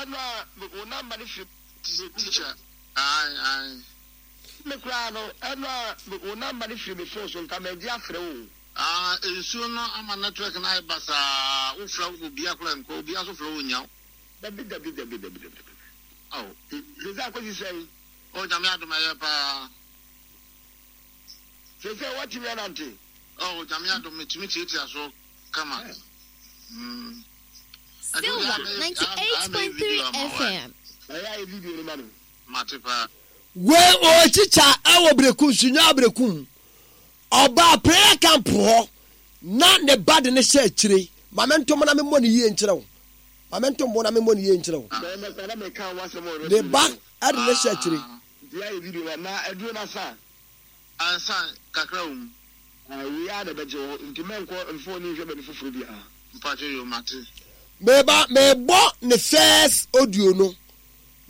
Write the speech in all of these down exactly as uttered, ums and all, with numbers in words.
Ɛno a wo number no firi. Teacher, ae ae. Me koraa no, ɛno a wo number no firi me phone so, nka magye afrɛ wo o. Ah, nsuo no ama network no ayɛ basaa, wo frɛ obia koraa nkɔ, obia nso frɛ wo nnya wo. Dabi dabi dabi dabi dabi. Ao. Sese akosi sɛn? Oh, Nyame adom, ɛyɛ paa. Sese watumi anante? Oh, Nyame adom, metumi tiatia so kama. Mm. Silver ninety eight point three F M. Ɛyɛ ayɛ video no ma no. Mate paa. Wei ɔɔkyikya ɛwɔ Berekum, Sunyani Berekum. Ɔbaa prayer camp hɔ na ne ba de ne hyɛ akyire. Ma mentom na memmɔ ne yie nkyerɛ wo. Ma mentom bo na memmɔ ne yie nkyerɛ wo. Bɛrima kora na meka wo asɛm wɔ Ne radio ba no so. ɛde ne hyɛ akyire. Nti ayɛ video ma na aduro no asa. Ansa kakra wɔ mu. Wei ara na ɛbɛgye wo, nti mɛnkɔ mfa w'ani nhwɛ baabi foforɔ biara. Mpakyɛ yo, mate. Meba mebɔ ne first audio no.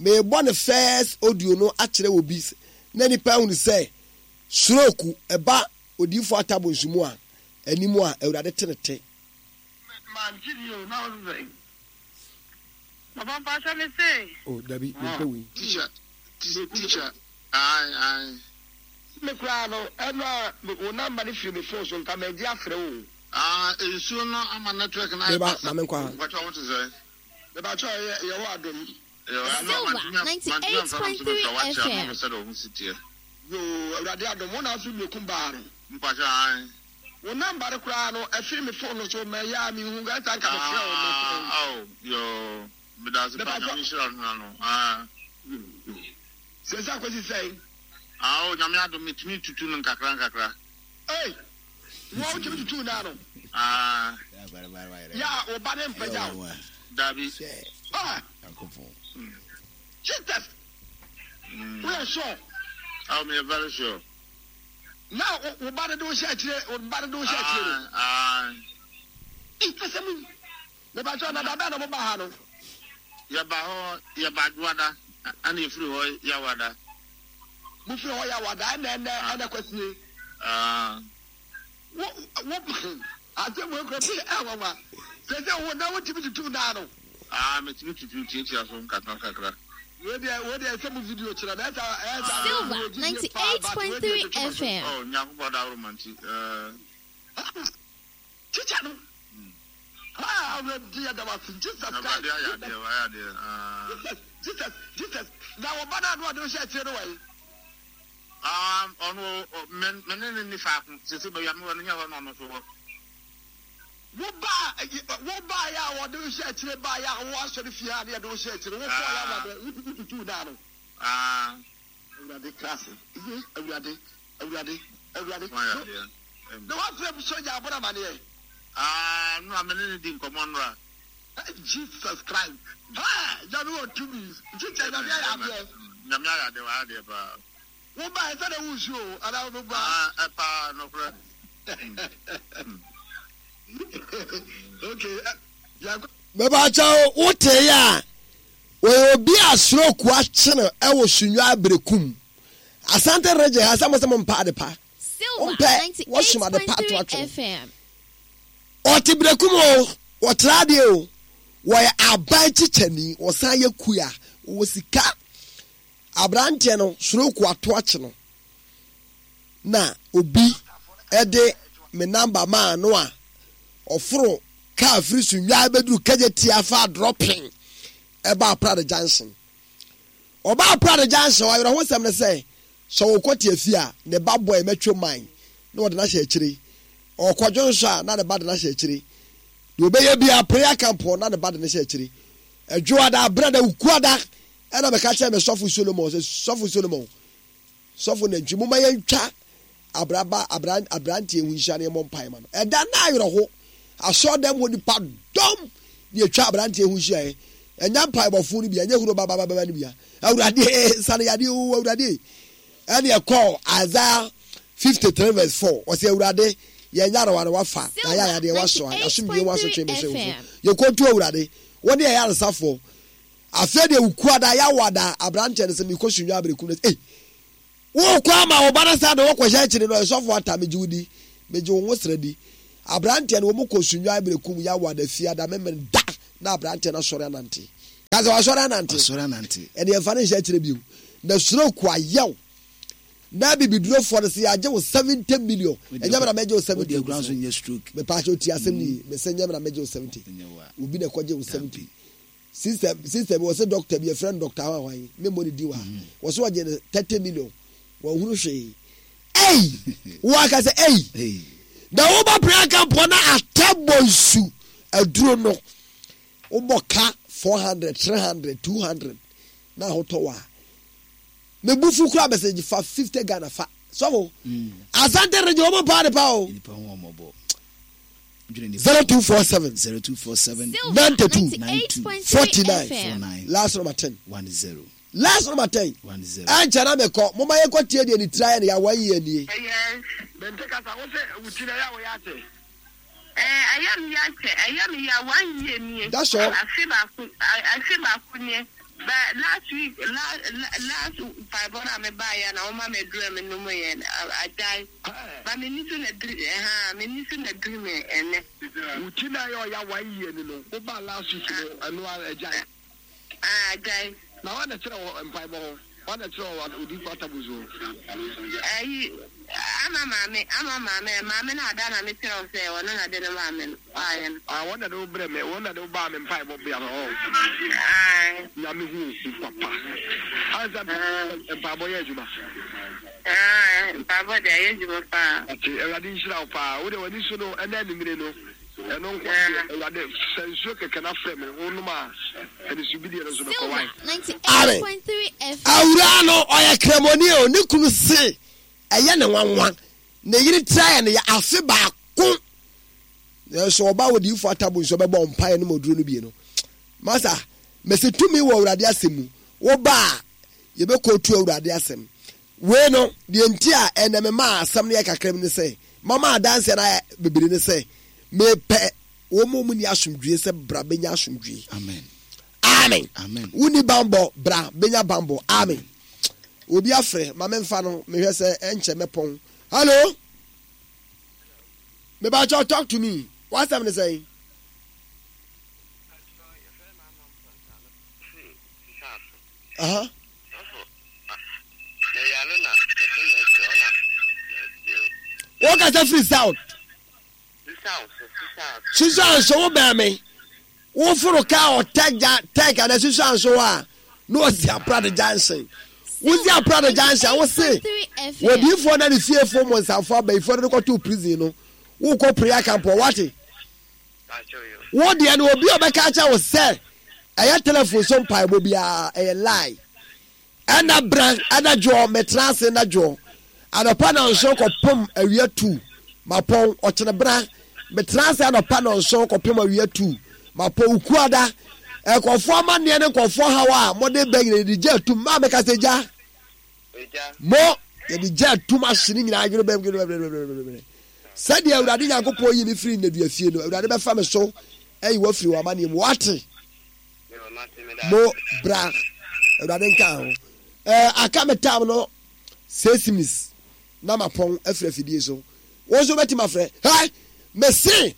Mebɔ ne first audio no akyerɛ wɔ bi na nipa ahunu sɛ stroke ɛba odiifo atabo nsumu a anim a Awurade te ne te. Mante ni o, na wo sɛ. Papa, mpakyɛ me se. Oh, dabi, mempɛ wei. Teacher, teacher, ae ae. Me koraa no, ɛno a wo number no firi me phone so, nka magye afrɛ wo o. Ah, nsuo no ama network no ayɛ Meba basaa. ma menkɔ ha. Mpakyɛ, wo te sɛ? Mebakyɛ yɛ yɛwɔ adom. Silver ninety eight point three F M. Sɛ de ho si teɛ. Yo, Awurade adom, wo na afiri Berekum baa no. Mpakyɛ, ae. Wo number no koraa no ɛfiri me phone no so, mɛyɛ a mehu ɛsa nka mefrɛ wo mɛfrɛ wo. Ah, oh, yo, medase pa, Nyame nhyira no no. Ah. Sese akosi sɛn? Ah, oh, Nyame adom, metumi tutu no nkakra nkakra. Ei, wo a wotumi tutu naa no? Ah. Yɛ a wo ba ne mpagya wo? Dabi. Ah. Jesus. Woyɛ sure? Oh, me very sure. Na wo ba de de wo hyɛ akyire, wo ba de de wo hyɛ akyire no? Ah. Asɛm yi. Mebakyɛ na da bɛn na mo ba ha no? Yɛba hɔ, yɛba Dwoada, ɛna yɛfiri hɔ Yawada. Mofiri hɔ Yawada, ɛna ɛnɛ ɛnɛ kwasie. Ah. Wo wo asɛm wo kura bi ɛwanwa. Sɛ sɛ wo na wotumi tutu naa no? Ah, metumi tutu tiatia so nkakra nkakra. Wo deɛ wo deɛ sɛ mo video kyerɛ na ɛsa ɛsa. Silver ninety eight point three F M. Oh, Nyankopɔn daworo ma nti. Eh. Teacher no. Ah, Awurade, yɛda wo ase. Jesus Christ. Awurade ayɛ adeɛ, wayɛ adeɛ. Ah. Jesus, Jesus, Jesus. Na wɔba no a na ɔde wo hyɛ akyire no wɔ yi? Ah, ɔno me me ne ne ni faako. Sisi baabi a mewɔ no nyɛ hɔ na ɔno nso wɔ. Wo ba wo ba yɛ a wɔde wo hyɛ akyire ba yɛ a wo asɔre fie a ne yɛde wo hyɛ akyire wo kɔɔ yɛ a wɔde wo tutu naa no. Ah. Awurade class. Awurade, Awurade, Awurade. Wayɛ adeɛ. Na wafrɛ m sogya abɔ no amaneɛ? Ah, no, me ne ne di nkɔmmɔ nnora. Jesus Christ. Ha, Nyame wɔ tumi. Teacher, Nyame ayɛ adeɛ. Nyame ayɛ adeɛ, wayɛ adeɛ paa. Wo ba ɛsɛ dɛ wo nsuo o, anaa wo ba? Ah, ɛ paa, nokorɛ. Okay. Yɛnkɔ. Mebakyɛ wo wote yɛ a wɔyɛ obi a stroke akye no ɛwɔ Sunyani Berekum, Asante Region ha, sɛ mo sɛ mo mpa ade pa. Silver Wompɛ, ninety wɔsom eight ade pa point ato three atwene. F M. Ɔte Berekum o, wɔtra adeɛ o, wɔyɛ aban kyikyɛni, wɔsan yɛ kuya, wɔwɔ sika. Aberanteɛ no stroke ato akye no na obi ɛde me number maa no a ɔforo kaa firi Sunyani bɛduru Kejetia fa dropping ɛba Aprade Junction. Ɔba Aprade Junction, awerɛho sɛm ne sɛ sɛ wɔkɔ te afi a ne ba bɔ ɛmɛtwo man na wɔde no ahyɛ akyire. Ɔkɔdwo nso a na ne ba de no ahyɛ akyire. Deɛ ɔbɛyɛ bia prayer camp hɔ na ne ba de no hyɛ akyire. Adwoada, abrada, wukuada ɛna mɛka kyerɛ me sɔfo Solomon sɛ, sɔfo Solomon, sɔfo nantwi, moma yɛntwa abraba abran aberanteɛ ho nhyia ne yɛmmɔ mpae ma no. Ɛda na awerɛho asɔɔdɛm hɔ nipa dɔm ne atwa aberanteɛ ho nhyiaeɛ. Ɛnya mpaebɔfo no bia ɛnyɛ huro babababa no bia. Awurade, sane yadeɛ o, Awurade. Ɛne ɛkɔɔ Isaiah fifty-three verse four, ɔsɛ Awurade yɛn nyarewa no wafa na yɛ ayadeɛ wasoa, yɛasomdwe ho asotwe bɛhyɛ wo so. Yɛkɔtu Awurade wo ne ɛyɛ aresafoɔ. Afei deɛ wukuada yɛawada aberanteɛ no sɛ mekɔ Sunyani Aberekum no, ei, wokɔ ama wo ba no saa de wokɔhyɛ akyiri no. Ɛsɔfo ata, megye wo di, megye wo ho srɛ di. Aberanteɛ no wɔn kɔ Sunyani Aberekum yɛawada fiada memene da na aberanteɛ no asɔre anante. Ka sɛ wasɔre anante. Wasɔre anante. Ɛne ɛmfa ne nhyɛ akyerɛ bio. Na stroke ayɛw. Na bibidurofoɔ no sɛ yɛagye wo seventy million. Ɛnyɛ me na mɛgye wo seventy. Wode akura nso nyɛ stroke. Mepaakyɛ ɔti asɛm ni yie. Mesɛ nyɛ me na mɛgye wo seventy. Obi na ɛkɔgye wo seventy. Sister sister bi wɔsɛ doctor bi yɛfrɛ no doctor ahwan memmɔ ne din wɔ ha. Wɔsɛ wɔgye no thirty million. Wɔnhunu hwee. Ei! Wɔaka sɛ ei! Na woba prayer camp hɔ na atɛ bɔ nsu aduro no. Wobɔ ka four hundred, three hundred, two hundred na ahotɔ wɔ a. Me bu fu kura message fa fifty Ghana fa. Sɔfo. Mm. Asante region wɔn paa de pa o. Nipa ho ɔmɔbɔ. Zero two four seven. Zero two four seven. Ninety two. Forty nine. Last number ten. One zero. Last number ten. One zero. Ɛnkyɛn na mekɔ. Mo ma yɛn kɔ tie deɛ ne tiri ayɛ no yɛ one year nie. Yes. Mente kasa wo sɛ wo ti na ɛyɛ a wɔyɛ akyɛ. Ɛɛ ɛyɛ me ya kyɛ ɛyɛ me ya one year nie. That's all. Afe baako afe baako nie but last week last last mpaebɔ no a me baa yɛ na wɔma me aduru a me nom yɛ agyae ba me ni so na diri ɛhaa me ni so na diri me ɛnɛ. Wo ti na ɛyɛ ɔya one year ni no wo baa last week no ɛno ara agyae. Ah agyae. Na wan na ɛkyerɛ wɔ mpaebɔ hɔ? Wan na ɛkyerɛ wɔ odiyifo Atabus hɔ? Ayi, ama maame, ama maame, maame no ada na me kyerɛ wo sɛ ɔno na de no maa me no, waayɛ no. Ah, wɔn na de wo brɛ me, wɔn na de wo baa me mpaebɔ bea hɔ. Ae. Nyame hu wo papa. Ansa mpaebɔ yɛ adwuma. Ae, mpaebɔ deɛ ɛyɛ adwuma paa. Ate, Awurade nhyira wo paa. Wo deɛ w'ani so no, ɛnɛ anwummere no. Ɛno nko deɛ, Awurade, sa nsuo kɛkɛ na frɛ me, wonom a, anisobideɛ no nso bɛkɔ. Why? Amen. Awuraa no ɔyɛ kramoni o, ne kunu se ɛyɛ ne nwanwa. Ne yere tiri ayɛ ne ya afe baako. Nanso ɔba odiyifo atabo nso bɛbɔ mpaeɛ no ma oduro no bie no. Masa, mese tumi wɔ Awurade asɛm mu. Woba a, yɛbɛkɔtu Awurade asɛm. Wei no, deɛ nti a ɛnnɛ memaa asɛm no yɛ kakra bi ne sɛ, mama adanseɛ no ayɛ bebree ne sɛ, mepɛ wɔn a wɔnni asomdwoeɛ sɛ bra bɛnya asomdwoeɛ. Amen. Amen. Amen. Wonni bammɔ, bra bɛnya bammɔ. Amen. Obi afrɛ, ma memfa no, mehwɛ sɛ ɛnkyɛ mɛpɔn. Hello? Mebakyɛw, talk to me. W'asɛm ne sɛn? Aha. Wokasa firi south. Susan so wo bɛn me. Woforo kaa ɔtɛ gya tɛk ana Susan so hɔ a na ɔsi aprade junction. Wosi aprade junction wo se wɔdiifoɔ na ne fiefoɔ mmɔnsamfoɔ abayifoɔ no de kɔtoo prison no wokɔ prayer camp wɔ wate. Wo deɛ no obi a ɔbɛka akyɛ wo sɛ ɛyɛ telephone so mpaebɔ biara ɛyɛ lie. Ɛna bra ɛna dwoɔ mɛtena ase na dwoɔ anɔpa nɔnson kɔpem awia two mapɔn ɔkyene bra mɛtena ase anɔpa nɔnson kɔpem awia two mapɔn ukuada nkɔfoɔ amanneɛ ne nkɔfoɔ haw a mode bɛ nyina yɛde gya atum maa meka sɛ gya mo yɛde gya atum ahye ne nyinaa adwene bɛm sɛdeɛ Awurade Nyankopɔn yi me firi nnadua fie no Awurade bɛfa me so ayi wafiri wɔ amanneɛ mu wate. Mo bra Awurade nka ho. Ɛɛ aka me tam no six minutes na mapɔn afiri afidie so. Wɔn nso bɛtumi afrɛ. Hɛ mese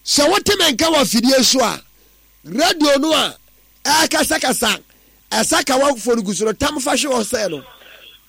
sɛ wote me nka wɔ afidie so a radio no a ɛrekasakasa ɛsakawa fo no gu so no tam fa hwe hɔ sɛ no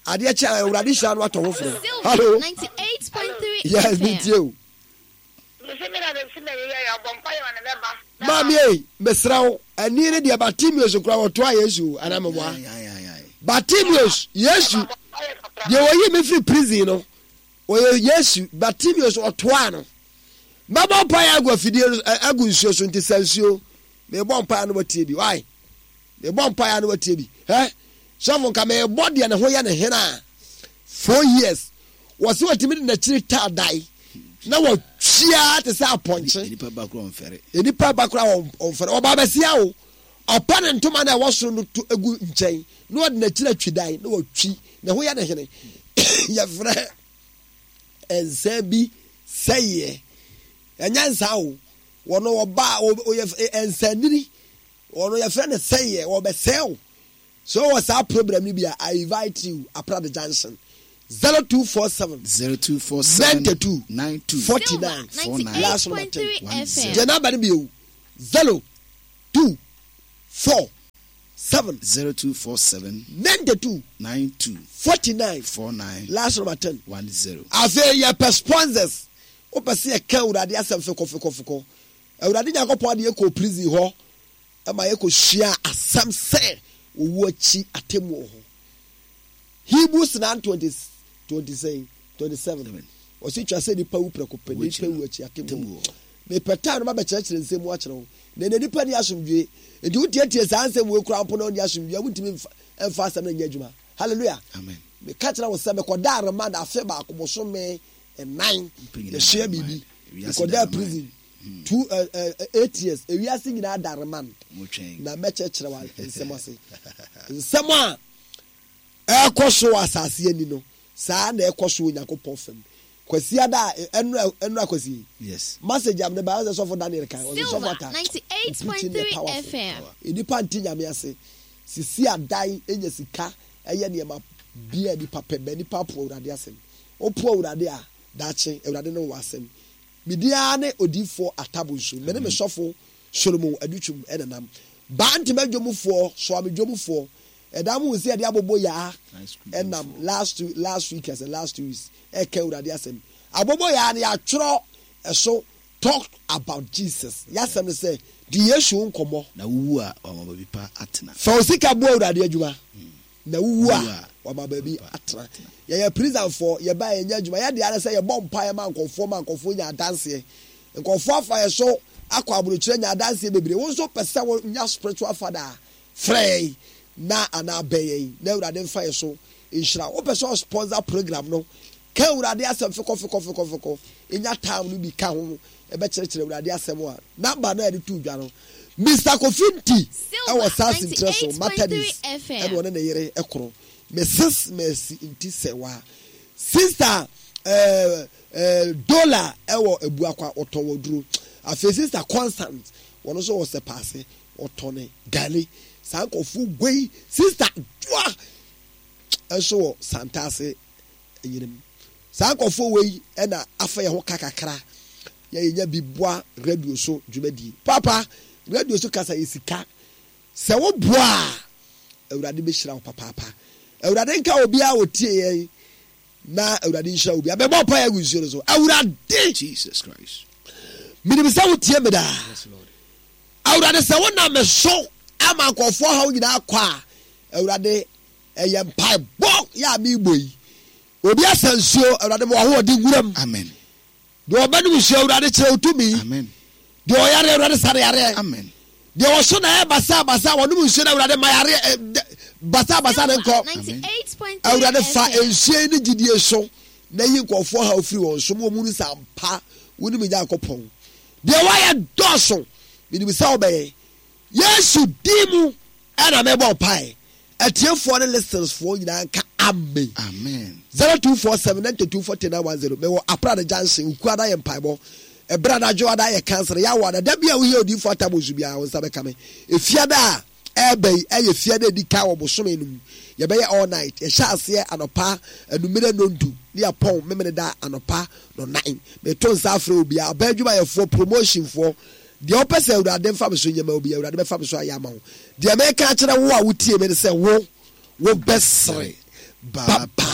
adeɛ kyɛ a Awurade hyira no atɔ ho forɔ. Hello. Yes, metie o. Maame ei, mesrɛ wo, ani ne deɛ Bartimeus kora wɔtoa Yesu o, anaa meboa? Bartimeus, Yesu, deɛ wɔyi me firi prison no, ɔyɛ Yesu, Bartimeus ɔtoa no. Mɛbɔ mpaeɛ agu afidie no, agu nsuo so, nti sɛ nsuo, mebɔ mpaeɛ no watie bi, why? Mebɔ mpaeɛ no watie bi, hɛ? Sɔfo nka mebɔ deɛ ne ho yɛ ne hena a, four years, wɔsi wɔtumi de n'akyiri taa dae na wɔtwia te sɛ apɔnkye. Nipa ba kora ɔnfɛre. Nipa ba kora ɔnfɛre. Ɔba abɛsia o. Ɔpa ne ntoma na ɛwɔ soro no to egu nkyɛn na ɔde n'akyiri atwi dan na wɔtwi ne ho yɛ ne hene. Yɛfrɛ nsa bi sɛeɛ. Ɛnyɛ nsa o. Wɔn ɔba ɔyɛ nsanini. Wɔn yɛfrɛ no sɛeɛ. Wɔbɛsɛe o. So wowɔ saa program no bi a, I invite you, Aprade Junction, zero two four seven, zero two four seven, ninety two, nine two, forty nine, four nine, last number ten, one zero. Gye namba no bio, zero two four seven zero two four seven ninety two nine two forty nine four nine last number ten. one zero. Afei yɛpɛ sponsors. Wopɛ sɛ yɛka Awurade asɛm fekɔfekɔfekɔ. Awurade Nyankopɔn de yɛkɔ prison hɔ ma yɛkɔsua asɛm sɛ owu akyi atemmu wɔ hɔ. Hebrews nine twenty twenty sɛn twenty seven. Ɔsi twa sɛ nipa wu prɛko pɛ, nipa wu akyi atemmu wɔ hɔ. Mepɛ time no mabɛkyerɛkyerɛ nsɛm mu akyerɛ wo. Na ɛnɛ nipa ni asomdwoe. Nti wotietie saa nsɛm wei koraa mpo na ɔnni asomdwoe a, wontumi mfa mfa asɛm no nyɛ adwuma. Hallelujah. Amen. Meka kyerɛ wo sɛ mekɔdaa remand afe baako bosome nnan. Yɛsua biribi. Mekɔdaa prison two uh, uh, eight years. Ewiase nyinaa da remand. Na mɛkyerɛkyerɛ wa nsɛm ase. Nsɛm a ɛrekɔ so wɔ asase ani no, saa na ɛkɔ so wɔ Onyankopɔn fam. Kwasi ada ɛnura ɛnura Kwasi. Yes. Message am ne ba ɔsɛ sɔfo Daniel kan ɔsɛ sɔfo ata. ninety eight point three F M. Nipa nti nyame ase. Sisi adan enya sika ɛyɛ nneɛma bia nipa pɛ bɛ nipa po Awurade asɛm. Opo Awurade a daakye Awurade ne wɔ asɛm. Midia ne odiifo atabonsu. Me ne me sɔfo Solomon Adutwum ɛnenam. Baa ntoma dwomfoɔ soame dwomfoɔ. Ɛda mu nsi ɛde abobo yaa ɛnam last two last week ɛsɛ last two weeks ɛka Awurade asɛm. Abobo yaa no yɛatwerɛ ɛso talk about Jesus. Yɛasɛm no sɛ di Yesu nkɔmmɔ. Na wuwu a wama baabi pa atena. Fa wo sika boa Awurade adwuma. Na wuwu a wama baabi atena. Yɛyɛ prisonfoɔ, yɛba yɛnyɛ adwuma. Yɛde ara sɛ yɛbɔ mpaeɛ ma nkɔfoɔ ma nkɔfoɔ nya adanseɛ. Nkɔfoɔ afa yɛ so akɔ aburokyerɛ nya adanseɛ bebree. Wo nso pɛ sɛ wonya spiritual father a, frɛ yɛn na anaa bɛn yɛn na Awurade mfa yɛ so nhyira. Wopɛ sɛ ɔsponsor program no, ka Awurade asɛm fekɔ fekɔ fekɔ fekɔ. Nya time no bi ka ho ɛbɛkyerɛkyerɛ Awurade asɛm a number no a yɛde to dwa no. Mister Kofi Nti ɛwɔ saa sintrɛ so Methodist ɛna ɔne ne yere ɛkoro. Missus Mercy Nti Sɛwa. Sister ɛɛ ɛɛ Dola ɛwɔ Ebuakwa ɔtɔn wɔ duro. Afei Sister Constant wɔn nso wɔ Sɛpaase ɔtɔn ne gari. Saa nkɔfo wei Sister Dua ɛnso wɔ Santase enyinam. Saa nkɔfo wei ɛna afa yɛn ho kakakra. Yɛ yɛnya bi boa radio so dwumadie. Papa radio so kasa yɛ sika. Sɛ wo boa a Awurade bɛhyira wo papaapa. Awurade nka obiara wɔ tie yɛn na Awurade nhyira obiara. Bɛbɔ mpaeɛ agu nsuo no so. Awurade Jesus Christ. Menim sɛ wotie me daa. Yes, Lord. Awurade sɛ wonam me so ama nkɔfoɔ haw nyinaa kɔ a, Awurade ɛyɛ mpaebɔ yɛ a meebɔ yi. Obi asa nsuo, Awurade ma w'ahoɔden nwuram. Amen. Deɛ ɔbɛnom nsuo, Awurade kyerɛ wo tumi. Amen. Deɛ ɔyare, Awurade sa ne yareɛ. Amen. Deɛ ɔso na ɛyɛ basa basa, wɔnom nsuo na Awurade ma yareɛ ɛ basa basa ne nkɔ. Awurade fa nsuo yi ne gyidie so na yi nkɔfoɔ haw firi wɔn so ma wɔn mu nsa mpa wɔn mu Nyankopɔn. Deɛ wɔayɛ dɔɔso, menim sɛ wɔbɛyɛ. Yesu din mu ɛna mɛbɔ mpae. Atiefoɔ ne listenersfoɔ nyinaa nka amen. Amen. zero two four seven nine two four nine one zero. Mewɔ Aprada Junction, Ukuada yɛ mpaebɔ. Ɛberɛ anadwo ada yɛ cancer. Yɛawɔ ada. Da bi a wohia odiyifoɔ atabonsu biara, wo nsa bɛka me. Efiada a ɛreba yi, ɛyɛ fiada edi kan wɔ bosome no mu. Yɛbɛyɛ all night. Yɛhyɛ aseɛ anɔpa anumere nondu ne yɛpɔn memene da anɔpa no nnan. Meto nsa afrɛ obiara, aban adwumayɛfoɔ, promotionfoɔ, deɛ wopɛ sɛ Awurade mfa me so nyɛ ma obi, Awurade bɛfa me so ayɛ ama wo. Deɛ meka akyerɛ wo a wotie me ne sɛ wo, wobɛsere. Bye bye.